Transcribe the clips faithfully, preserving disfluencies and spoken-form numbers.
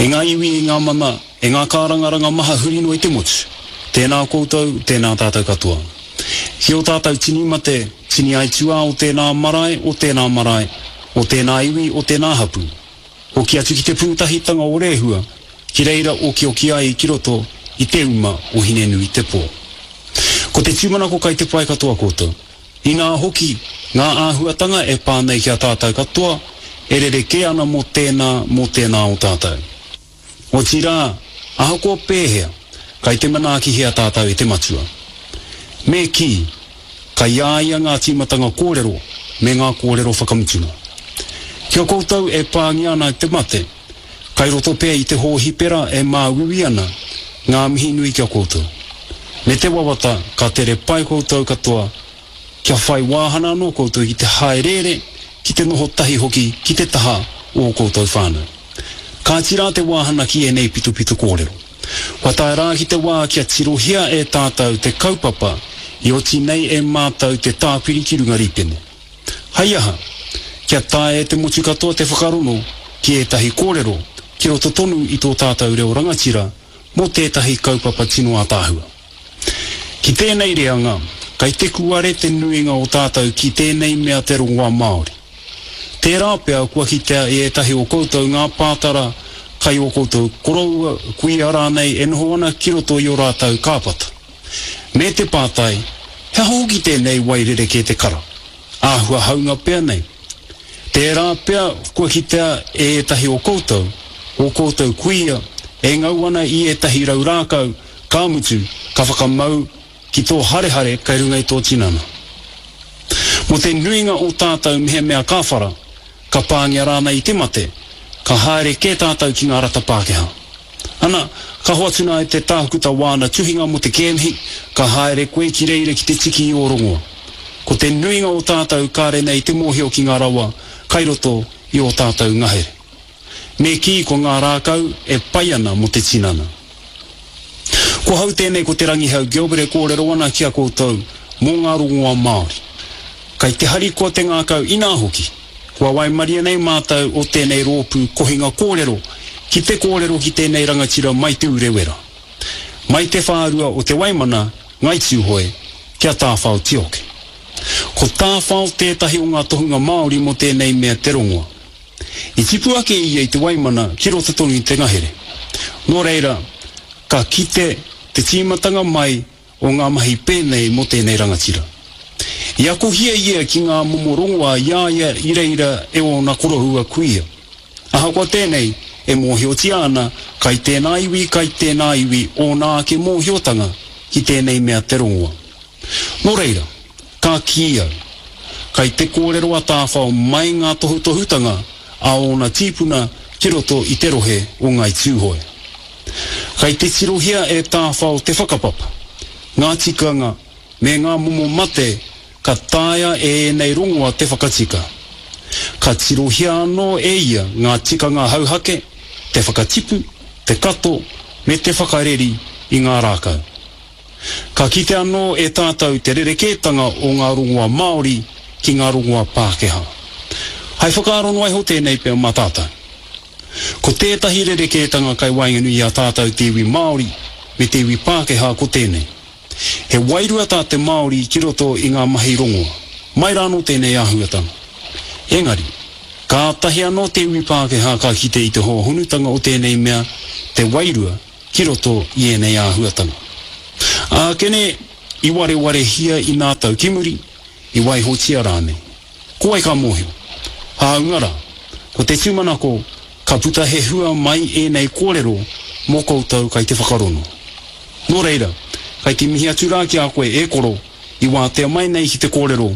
E ngā iwi, e ngā mana, e ngā kārangaranga maha huri noa i te motu. Tēnā koutou, tēnā tātou katoa. Ki ō tātou tini mate, tini aituā o tēnā marae, o tēnā marae, o tēnā iwi, o tēnā hapū. Hoki atu ki te pūtahitanga o Rehua, ki reira okioki ai ki roto i te uma o Hinenuitepō. Ko te tūmanako kai te pai katoa koutou. Inā hoki, ngā āhuatanga e pā nei ki a tātou katoa, e rerekē ana mō tēnā, mō tēnā o tātou. Otirā, ahakoa pēhea, kai te manaakihia tātou e te Matua. Me kī, kai a ia ngā tīmatanga kōrero me ngā kōrero whakamutunga. Ki a koutou e pāngia ana e te mate, kai roto pea i te hōhipera e māuiui ana, ngā mihi nui ki a koutou. Me te wawata ka tere pai koutou katoa, kia whai wāhana anō koutou ki te hāereere, ki te noho tahi hoki ki te taha o ō koutou whānau. Kāti rā te wāhana ki ēnei pitopito kōrero. Kua tae rā ki te wā kia tirohia e tātou te kaupapa i oti nei e mātou te tāpiri ki runga rīpene. Hei aha, kia taea e te motu katoa te whakarongo ki ētahi kōrero ki roto tonu i tō tātou reo rangatira mō tētahi kaupapa tino ātaahua. Ki tēnei reanga, kai te kuare te nuinga o tātou ki tēnei mea te rongoā Māori. Tērā pea kua kitea e ētahi o koutou ngā pātara kai ō koutou koroua, kuia rānei e noho ana ki roto i ō rātou kāpata. Me te pātai, he aha hoki tēnei wai rerekē te kara? Āhua haunga pea nei. Tērā pea kua kitea e ētahi o koutou, ō koutou kuia, e ngau ana i ētahi rau rākau, ka mutu, ka whakamau ki tō harehare kei runga i tō tinana. Mō te nuinga o tātou mehemea ka whara, ka pāngia rānei i te mate, ka haere kē tātou ki ngā rata Pākehā. Ana, ka hoatu nā e te tākuta wāna tuhinga mō te kēmihi, ka haere koe ki reira ki te tiki i ō rongoa. Ko te nuinga o tātou kāre nei te mōhio ki ngā rawa kai roto i ō tātou ngahere. Me kī ko ngā rākau e pai ana mō te tinana. Ko hau tēnei ko Te Rangihau Gilbert e kōrero ana ki a koutou mō ngā rongoā Māori. Kai te harikoa te ngākau inā hoki, kua waimaria nei mātou o tēnei rōpū kohinga kōrero ki te kōrero ki tēnei rangatira mai Te Urewera, mai te whārua o Te Waimana, Ngai Tūhoe, ki a Tāwhao Tioke. Ko Tāwhao tētahi o ngā tohunga Māori mō tēnei mea te rongoa. I tipu ake ia i Te Waimana ki roto tonu i te ngahere. Nō reira, ka kite te tīmatanga mai o ngā mahi pēnei mō tēnei rangatira. I akohia ia ki ngā momo rongoā i a ia i reira e ōna koroua kuia. Ahakoa tēnei, e mōhiotia ana kai tēnā iwi, kai tēnā iwi ōna ake mōhiotanga ki tēnei mea te rongoa. Nō reira, ka kī au, kai te kōrero a Tāwhao mai ngā tohutohutanga a ōna tīpuna ki roto i te rohe o Ngāi Tūhoe. Kai te tirohia e Tāwhao te whakapapa, ngā tikanga me ngā momo mate ka taea e ēnei rongoa te whakatika. Ka tirohia anō e ia ngā tikanga hauhake, te whakatipu, te kato me te whakareri i ngā rākau. Ka kite anō e tātou te rerekētanga o ngā rongoa Māori ki ngā rongoa Pākehā. Hai whakaaro noa iho tēnei pea mā tātou. Ko tētahi rerekētanga kai waenganui i a tātou te iwi Māori me te iwi Pākehā ko tēnei. He wairua tā te Māori ki roto i ngā mahi rongoa. Mai rānō tēnei āhuatanga. Engari, kātahi anō te iwi Pākehā ka kite i te hōhonutanga o tēnei mea te wairua ki roto i ēnei āhuatanga. Ākene, i warewarehia i nā tau ki muri, i waihotia rānei. Ko wai ka mōhio? Hāunga rā, ko te tūmanako ka puta he hua mai ēnei kōrero mō koutou kai te whakarono. Nō reira, kai te mihi atu rā ki a koe e koro i wātea mai nei ki te kōrero,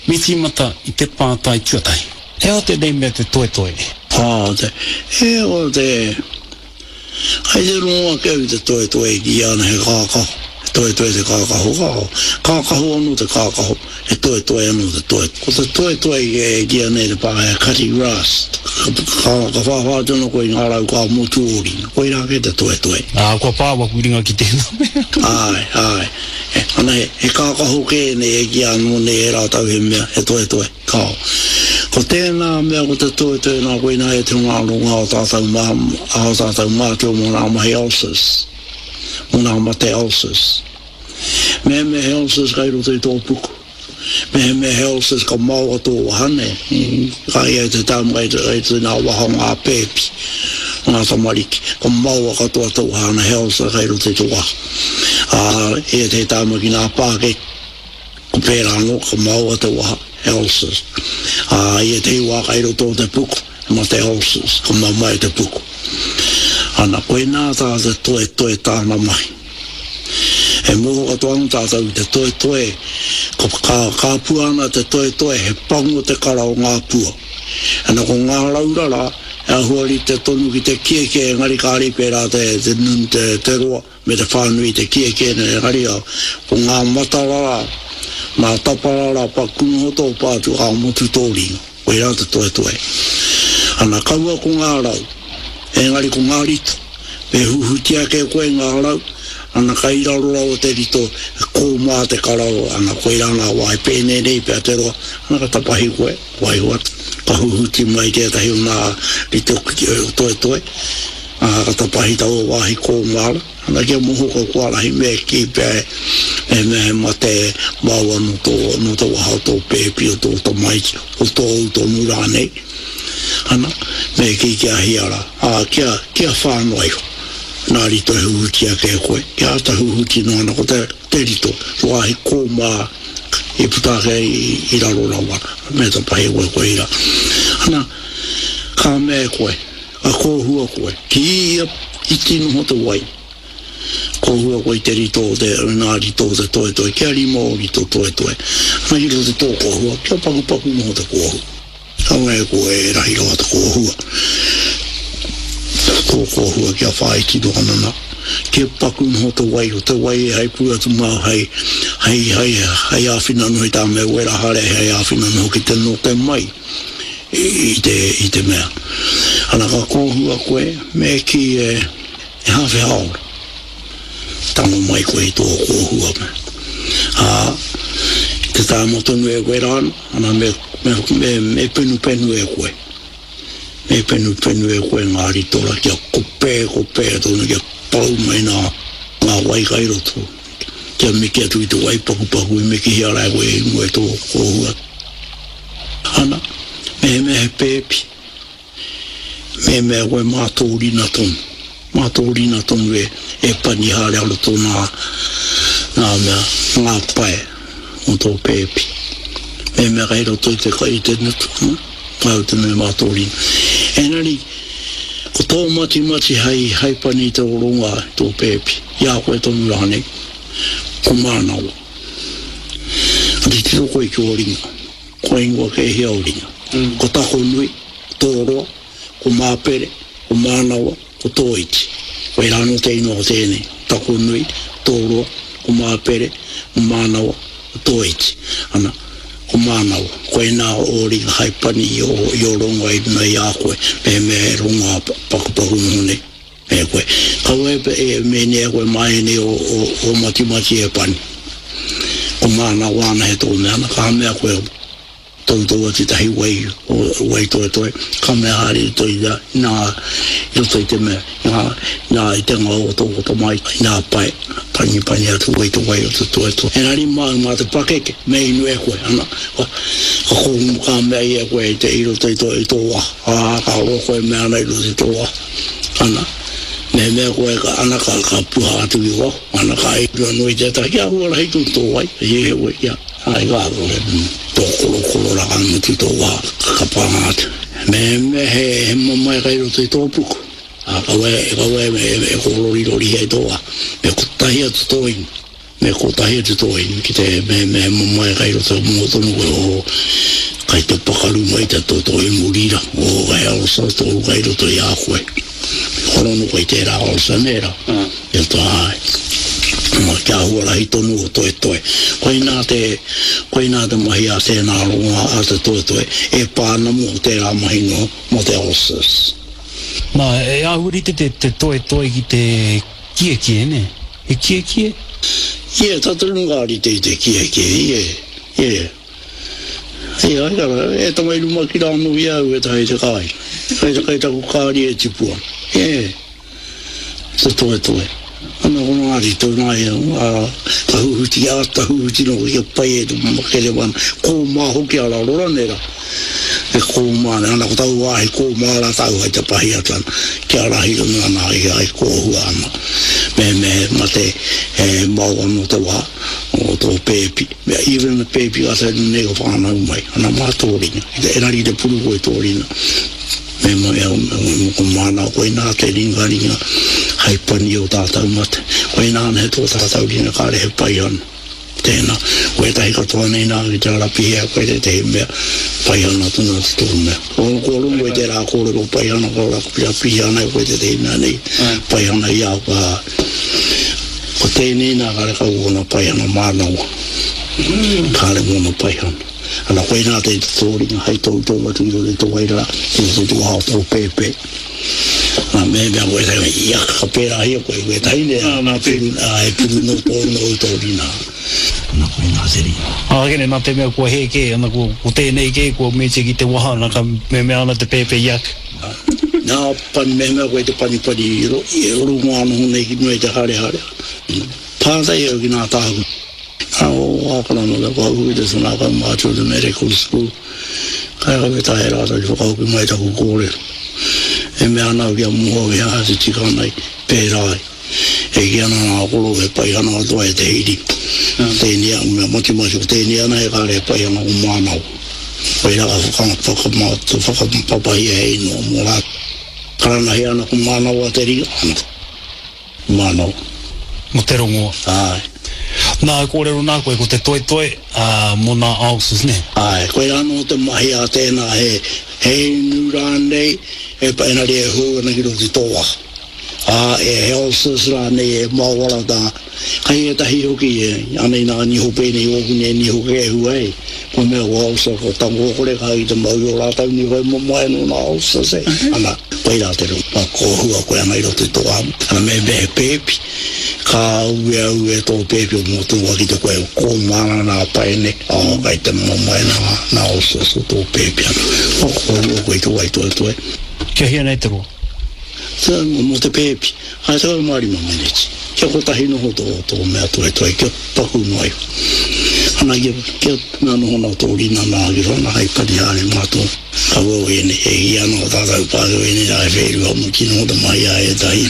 me tīmata i te pātai tuatahi. He aha tēnei mea te toetoe? Ā, te, e, o te, kai te rongo ake au i te toetoe e kīia ana he kākaho, he toetoe te kākaho, kāo, kākaho anō te kākaho, he toetoe anō te toe. Ko te toetoe e kīia nei te Pākehā cutting grass, ka, ka, ka whāwhā atu anō koe i ngā rau ka motu ō ringa, koirā kē te toetoe. Ā, kua pā waku ringa ki tēnā mea. Āe, āe. E, ana he, he kākaho kē nei e kīia anō nei e rātou he mea, he toetoe. Kāo. Ko tēnā mea ko te toetoe nā koinā e te ngā ronga o tātou mā, o tātou mātua mō ngā mahi ulcers, mō ngā mate ulcers. Mehemea he ulcers kai roto i tō puku, mehemea he ulcers ka maoa tō waha nē, ka ia i te tamu kai te nā waha o ngā pēpi, o ngā tamariki, ka maoa katoa tō waha ana he ulcer kai roto i tō waha. Ā, ia te tamu ki ngā pākeke, ko pērā anō, ka maoa te waha, he ulcers. Ā, i ētehi wā kai roto o te puku, he mate ulcers, ka mamae te puku. Ana, koinā tā te toetoe tāna mahi. E mōhio katoa ana tātou ki te toetoe, ka, ka, ka pua ana te toetoe, he pango te kara o ngā pua. Ana, ko ngā rau rara, e āhua rite tonu ki te kiekie, engari kāre i pērā te, te, te, te roa me te whānui te kiekie nei, engari ko ngā matarara, ngā taparara paku noho tō pātu ka motu tō ringa, koirā te toetoe. Ana, kaua ko ngā rau, engari ko ngā rito. Me huhuti ake koe ngā rau, ana kai raro rawa te rito, he kōmā te kararo, ana koirā ngā wā e pēnei nei pea te roa, ana ka tapahi koe, waiho atu, ka huhuti mai tētahi o ngā rito toetoe, ā, ka tapahi taua wāhi kōmā rā. Ana kia moho ko Kuarahi me kī pea e mea he mate maua nō tō, nō te waha o tō pēpi, o tō tamaiti, o tōu tonu rānei. Ana, me kī kia hia rā, ā, kia, kia whā noa iho. Nā rito e huhuti ake e koe, kia āta huhuti noa ana ko te, te rito, te wāhi kōmā i puta ake i, i raro rawa, me tapahi koe koirā. Ana, ka mea e koe, ka kōhua koe, ki ia iti noho te wai. Kōhua koe i te rito o te, ngā rito o te toetoe, kia rima o rito toetoe. Ana ki roto tō kōhua, kia pakupaku noho te kōhua. Kaua e koe e rahi rawa te kōhua. Tō kōhua kia whāiti noa ana nā. Kia paku noho te wai, o te wai e hei pū atu māu hei, hei, hei, hei āwhina noho i tā mea wera haere, hei āwhina noho ki te note mai i te, i te mea. Ana ka kōhua koe, me kī e, e hāwhe hāora. Tango mai koe i tō kōhua mea. Ā, i te tāma tonu e wera ana, ana me, me, me, me penupenu e koe. Me penupenu e koe ngā ritora kia kopē, kopē tonu, kia pau mai nā, ngā wai kai roto. Kia miki atu i te wai pakupaku i mikihia rā e koe i mua i tō kōhua. Ana, mehemea he pēpi, mehemea koe mā tō rina tonu. Mā tō rina tonu e, e pani haere a roto nā, nā mea, ngā pae o tō pēpi. Mehemea kei roto i te, i te ngutu, hm, māu tonu e mā tō rina. Engari, ko tō matimati hei, hei pani i te rongoā i tō pēpi, i a koe tonu rānei, ko mānawa. Ka titiro koe ki ō ringa, kua ingoa kē hia ō ringa. Ko Takonui, ko Tōroa, ko Māpere, ko Mānawa, ko Tōiti. Koirā anō te ingoa o tēnei, Takonui, Tōroa, ko Māpere, ko Mānawa, ko Tōiti. Ana, ko Mānawa. Koinā ō ringa hai pani i ō, i ō rongoa i runga i a koe, mehemea he rongoa pakupaku noho nei e koe. Kaua e, e mēnei e koe mā ēnei o, o, o matimati e pani. Ko Mānawa ana he tō mea, ana, ka mea koe, Toutou atu tahi wai, wai toetoe, ka mea haere i roto i a, inā, i roto i te mea, inā, inā, i te ngao o tō tamaiti, inā pae, panipani atu wai te wai o te toetoe. Engari māu mā te pakeke, me inu e koe, ana, ka, ka kōhumu ka mea i e koe i te, i roto i tō, i tō waha, ā, ka roa koe mea ana i roto i tō waha, ana, mehemea koe ka, ana, ka, ka puha atu ki waho, ana, ka inu anō i tētahi, kia huarahi tonu tō wai, he wai, kia. Ai ka kore tō korokoro rā ka mutu tō wā ka kapanga atu. Mehemea he, he mamae kai roto i tō puku, ā, kaua e, kaua e, e, e kōrorirorihia i tō wā. Me kotahi atu tō inu, me kotahi atu tō inu ki te mehemea he mamae kai roto mō tonu koe, oh, kai te pakaru mai te toto i muri rā, oh, he ulcer tōu kai roto i a koe. Horono koe i tērā ulcer nē rā. Ia tā, āe. Kia huarahi tonu o toetoe. Koinā te, koinā te mahi a tēnā rongoā a te toetoe e pā ana mō tērā mahi noa mō te ulcers. Nā, e āhua rite te, te toetoe ki te kiekie, nē? He kiekie? Ie, tā tonu ka rite i te kiekie, ie, ie. E ai kara, e tamai ruma ki rā no ia au e tahi te kai. Kai te kai taku kāri e tipua. E, te toe toe. Ana kono ngāti tau nā ia, ka huhuti ata huhuti no kia pai e te makere wana. Kō mā hoki a raro rane rā. E kō mā, ana ko tau wāhi kō mā rā tau hai te pahi atu ana. Kia rahi tonu ana ai ai kō hua ana. Me me mate e mau anō te wā o tō pēpi. Mea even the pēpi ka tau nei ko whānau mai. Ana mā tōrina. Engari te puru koe tōrina. Me me me ko māna koe nā te ringa ringa hai pani o tātau mate. Koe nā he tō tātau ringa kāre he pai ana. Tēnā, koe tahi katoa nei nā ki te arapihea koe te tehi mea pai ana tōna te tō mea. O ko rongo i te rā kōrero pai ana ko rā pihea ana koe te tehi mea nei pai ana i au ka. Ko tēnei nā kāre kau ona pai ana mānawa. Kāre mōna pai ana. Ana koe nā te tōringa hai tō tō atu i te tō ai rā, i te tō hao tō pēpē. Nā me mea koe tahi, ia ka pērā hia koe koe tahi ne, a e puru no tō no tō rina. Ana koe nā te rina. A kene nā te mea kua he kē, ana ko, ko tēnei kē, kua mete ki te waha, ana ka me mea ana te pēpē iak. Nā pani me mea koe te pani pani i ro, i runga anō nei ki mua i te hare hare. Pātai au ki nā tāku. Ana o ākana no te whakahoki te sanaka mātua te medical school. Kai kawe tahe rātou ki whakahoki mai taku kōrero. E mea ana au kia moho ki aha te tika nei, pērā ai. E ki ana ngā koro he pai ana katoa e te hiri. Tēnei au mea matimati ko tēnei ana he kāre he pai ana ko mānawa. Koe rā ka whaka, whakapapahia hei noa mō rā. Karanahi ana ko mānawa te ringa ana. Mānawa. Mo te rongoa. Ai. Nā, kōrero nā koe, ko te toe toe, uh, mō nā ulcers, ne? Ai, koe rānō te mahi a tēnā he, he inu rānei, e engari e hou ana ki roto i tō waha. Ā, e he ulcers rānei e mawara tā. Kai e tahi hoki, e, anei nā niho pēnei ōku nei niho kēhua e. Ko mea ko ulcer, ko tango kore ka i te mau i o rātau niho e mamae no nā ulcers e. Ana, koe rā te rongo, ka kōhua koe ana i roto i tō waha. Ana me me he pēpi, ka ue au e tō pēpi o mō tō ki te koe kō mana nā paene, ā, kai te mamae nā, nā ulcers o tō pēpi ana. Ko kōhua koe i te wai toe toe. Kia hia nei te roa? Te, mō te pēpi, ai te mā rima meneti. Kia kotahi noho tō, tō mea toe toe, kia paku noa iho. Ana kia, kia mea noho nā tō rina nā ki rona hai pani haere mā tō. Ka wau ene, e i anō tātou pākau ene rā e whērua mo ki noho te mahi a e tahi.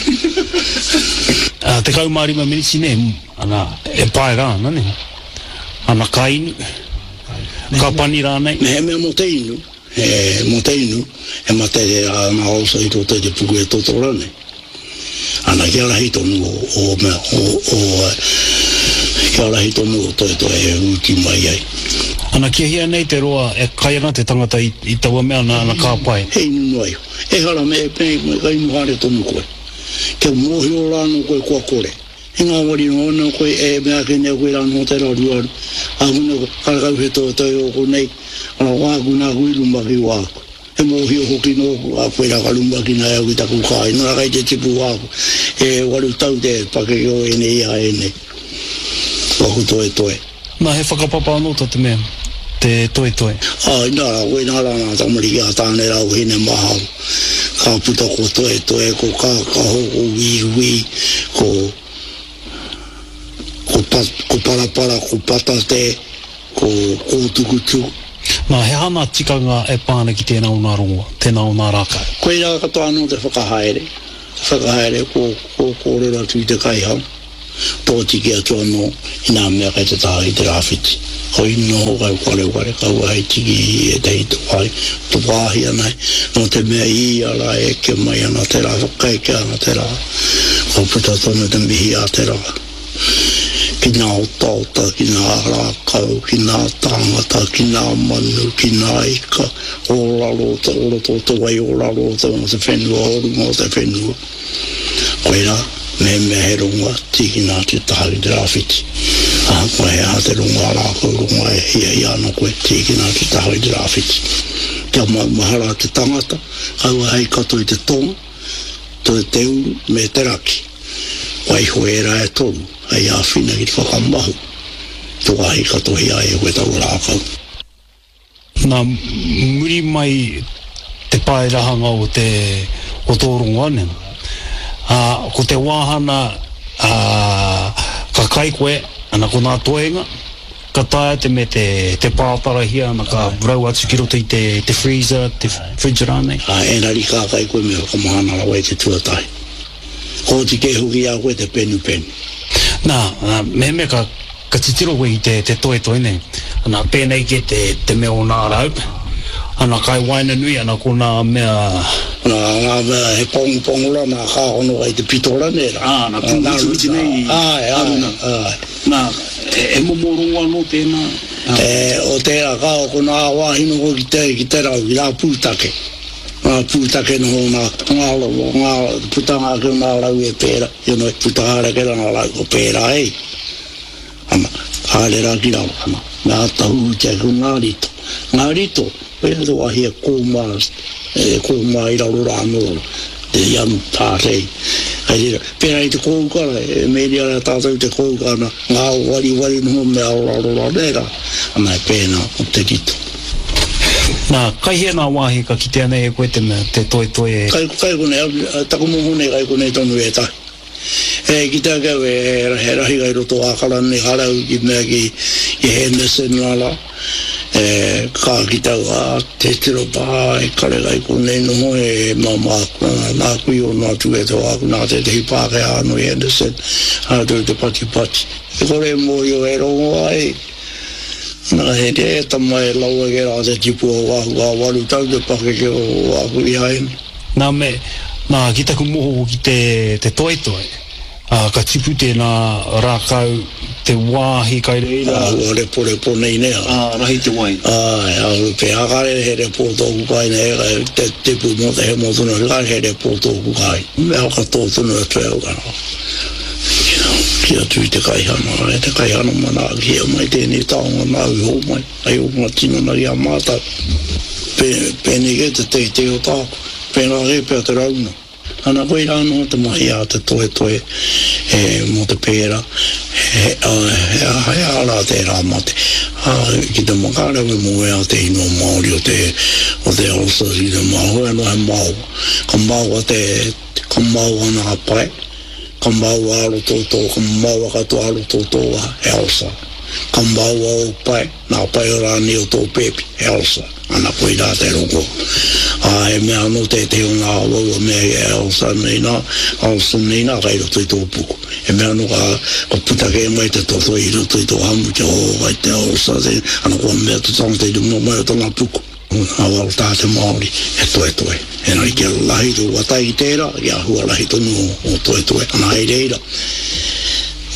Uh, tekau mā rima miniti ne, ana, e pae rā, ana ne. Ana ka inu, ka pani rānei. Me he mea mō te inu, e, mō te inu, e mate te rā nā osa i tō te te puku e toto rānei. Ana kia rahi tonu o, o mea, o, o, kia rahi tonu o toe toe e uti mai ai. Ana kia hia nei te roa e kai ana te tangata i, i taua mea ana, ana ka pai. He inu noa iho. E hara me e me, me ka inu haere tonu koe. Kia mōhio rānō koe kua kore. E ngā wari noa anō koe e mea ake nei koe rānō te raru aru. Āku nei karakau he toe toe o konei. Ana wāku nā kui rumaki wāku. He mōhio hoki nōku, a koe rā ka rumaki nā au ki taku kāi. Nō rā kai te tipu wāku. E waru tau te pakeke o ene ia ene. Waku toe toe. Nā, he whakapapa anō tō te mea, te toe toe. Ai, nā rā, koe nā rā nā tamariki a tāne rā o hine mahau. Ka puta ko toe toe, ko kākaho, ko wīwī, ko, ko, pa, ko parapara, ko patate, ko kōtukutuku. Nā, he aha nā tikanga e pāna ki tēnā o nā rongoa, tēnā o nā rākau? Koe rā katoa anō te whakahaere. Te whakahaere ko, ko kōrero atu i te kaihau. Tō tiki atu anō i nā mea kai te taha i te rāwhiti. Hoi noho kai ware ware kaua hei tiki i e tehi tō wāhi, tō wāhi anai. Nō te mea i a rā e ke mai ana te rā, whakaeke ana te rā. Ko puta tonu te mihi a te rā. Ki nā otaota, ki nā rākau, ki nā tāngata, ki nā manu, ki nā ika, o raro, te oro tō te wai, o raro, te o te whenua, o runga o te whenua. Koe rā, me mea he rongoa, tiki nā te taha ki te rāwhiti. Ahakoa he aha te rongoa rākau, rongoa e hia hia ana koe, tiki nā te taha ki te rāwhiti. Kia maumahara te tangata, kaua hei kato i te tonga, te te uru me te raki. Waiho e rā e toru, hei āwhina ki te whakamahu. Tō ahi katohi ai e koe tau rākau. Nā, muri mai te paerahanga o te o tō rongoa nei. Ā, ko te wāhana ā, ka kai koe, ana ko nā toenga, ka taea te me te, te pātarahia, ana ka rau atu ki roto i te, te freezer, te fridge rānei. Ā, engari ka kai koe me whakamahana rawa i te tuatahi. Ko oti kē hoki i a koe te penupenu. Nā, mehemea ka, ka titiro koe i te, te toetoe nei, ana pēnei kē te, te mea o nā rau, ana kai waenganui, ana ko nā mea... Nā, ngā mea he pongopongo rā, nā kāhono kai te pito rānei rā. Ā, nā pūhutuhutu nei i Āe, āe, aruna. āe. Nā, e, e momo rongo anō tēnā? E, o tērā, ka ko nā wāhi noho ki te, ki te rau, ki nā pūtake. Ngā pūtake noho nā, ngā, ngā putanga ake o nā rau e pērā, you know, puta haere ake rā ngā rau ko pērā e. Ana, haere rā ki raro, ana, me āta huhuti ake ko ngā rito. Ngā rito, koia te wāhi e kōmā, e kōmā i raro rā anō, te ianu tātei. Hei reira, pērā i te kōuka rā, e mēria rā tātou te kōuka, ana, ngā wariwari noho me aoraro rā, nē rā, ana e pēnā o te rito. Nā, kai hea nā wāhi ka kitea nei e koe te mea, te toetoe e... Kai, kai konei, au, taku moho nei kai konei tonu ētahi. E kite ake au, e, he rahi kai roto ākara nei harau ki mea ki, ki Henderson nā rā. E, ka kite au, ā, te tiro pā, e kare kai konei noho e mama, nā kui o nā tū e te wāku, nā tētehi Pākehā anō i Henderson, rātou te patipati. E kore e mōhio e rongo ai. Nā, he e tama e lawe ke rā te tipu o wāku a waru tau te pakeke o wāku i haene. Nā me, nā, ki taku moho ki te, te toetoe, ā, ka tipu tēnā rākau, te wāhi kai reira. Āhua reporepo nei nē. Ā, rahi te wai. Āe, āhua pēhā kāre he repo tōku kāinga, e kai te tipu mō te hemo tonu atu, kāre he repo tōku kāinga. Mea whakatō tonu atu e au ka rā. Ki atu i te kaihana, e te kaihana manaakihia mai tēnei taonga nāu i hōmai, hei ōnga tinana i a mātou. Pē, pēnei kē te teitei o tāku, pēnā kē pea te rauna. Ana koirā anō te mahi a te toetoe e, mō te pērā, he, a, he, a, he aha rā tērā mate. Ā, ki te makarau e moea te ingoa Māori o te, o te ulcers ki te Māori, hoi anō he maoa. Ka maoa te, ka maoa nā pae, ka maoa a roto o tō, ka maoa katoa a roto o tō waha, he ulcer. Ka maoa ō pae, nā pae rānei o tō pēpi, he ulcer. Ana koirā te rongo. Ā, he mea anō tētehi o ngā waua mea e ulcer nei nā, ulcer nei nā kai roto i tō puku. He mea anō ka, ka puta kē mai te toto i roto i tō hamu te hō kai te ulcer te, ana kua mea te tangata i runga mai o tana puku. Ngā wao tā te Māori, he toetoe. Engari kia rahi tō watai ki tērā, kia huarahi tonu o, o toetoe. Ana hei reira,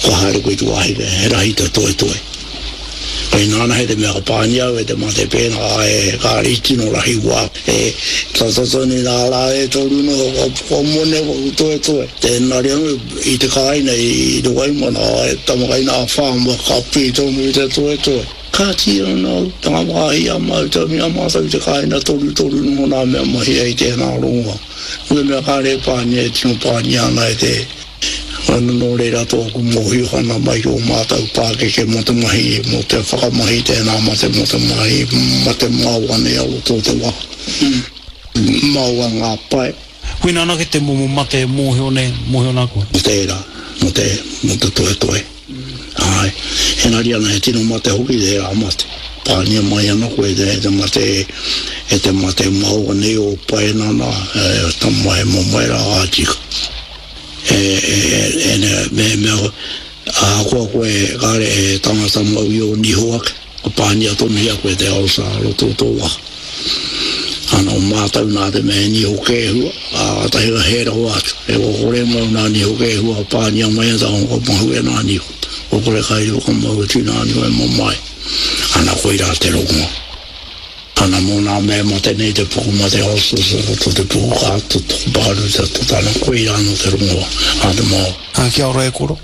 kua haere koe i te wāhi, he rahi te toetoe. Kei nāna he te mea ka pānia au e te mate pēnā, e kāre i tino rahi wā. E tata tonu nā rā e toru noho ka, kua mone waku toetoe. Tēnari anō i te kāinga i te Waimana, e tama kai nā whāma ka pī tonu i te toetoe. Kāti anō, tanga wāhi a mātou, i a mātou i te kāinga torutoru noho nā mea mahi ai tēnā rongoa. Ko te mea kāre e pānia e tino pānia ana e te Ana nō reira tōku mōhiohana mai ki ō mātou pākeke mō te mahi, mō te whakamahi tēnā mate mō te mahi mate maoa nei a roto o te waha. Maoa ngā pae. Koina anake te momo mate e mōhio nei, mōhio nā koe? Mō tērā, mō te, mō te toetoe. Āe. Engari ana he tino mate hoki tērā mate. Pānia mai ana koe e te mate, e te mate maoa nei o pae nana, e tama he mamae rā ka tika. E, e, e, e, me, me, ahakoa koe kāre e tangata mau i ō niho ake, ka pānia tonuhia koe te ulcer a roto o tō waha. Ana o mātou nā te mea he niho kēhua, ā, kātahi ka hē rawa atu. E kua kore mau nā niho kēhua ka pānia mai ana taku ka mahue nā niho. Kua kore kai rua ka mau atu nā niho e mamae. Ana koirā te rongoa. Ana mō nā mea mate nei te puku mate ulcers o roto te puku ka toto pakaru te toto ana koirā anō te rongoa a te Māori. Ā, kia ora e koro.